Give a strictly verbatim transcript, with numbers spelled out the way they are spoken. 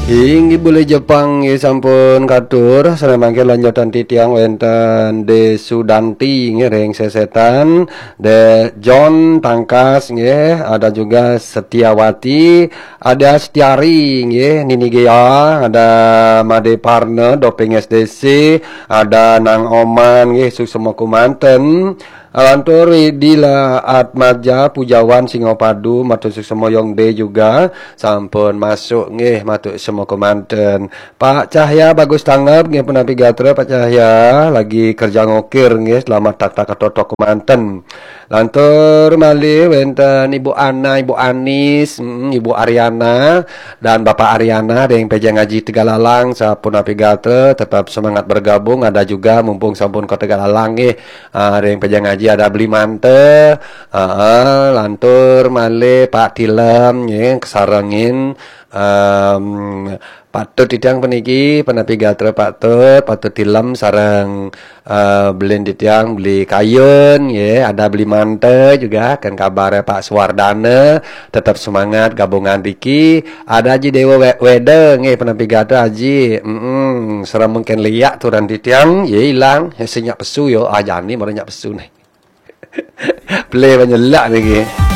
Inggih, bulih Jepang nggih sampun katur, sareng mangke lanjutan titiang wenten De Sudanti nggih ring Sesetan, De John Tangkas nggih, ada juga Setiawati, ada Setiari nggih, Nini Gea, ada Made Parna, Doping S D C, ada Nang Oman nggih, suksma kumanten. Lantur Widi la Atmaja Pujawan Singapadu, matur suksma Yong De juga sampun masuk nggih, matur suksma kumanten. Pak Cahya Bagus Tanggap nggih, punapi gatra Pak Cahya, lagi kerja ngokir nggih, selamat tak tak ketotok kumanten. Lantur malih wenten Ibu Ana, Ibu Anis, mm, Ibu Ariana, dan Bapak Ariana ring Pejeng Aji Tegalalang, sapunapi gatra, tetap semangat bergabung, ada juga mumpung sampun ke Tegalalang nggih, ah, ring Pejeng Aji ada Beli Mante, ah, ah, lantur malih Pak Tilem nggih, kesarengin, em, Pak Tut titiang puniki, punapi gatra Pak Tut, Pak Tut Tilem sareng, eh, Belin titiang, Beli Kayun, nggih, ada Beli Mante juga, kan kabar Pak Suwardana, tetap semangat gabungan riki, ada Aji Dewa We-, Weda, nggih, punapi gatra Aji, mm sareng mungkin liak turan titiang, ya ilang, ya sinyak pesu yo, ah, jani mara nyak pesu nih. Pelih banyak lak niki.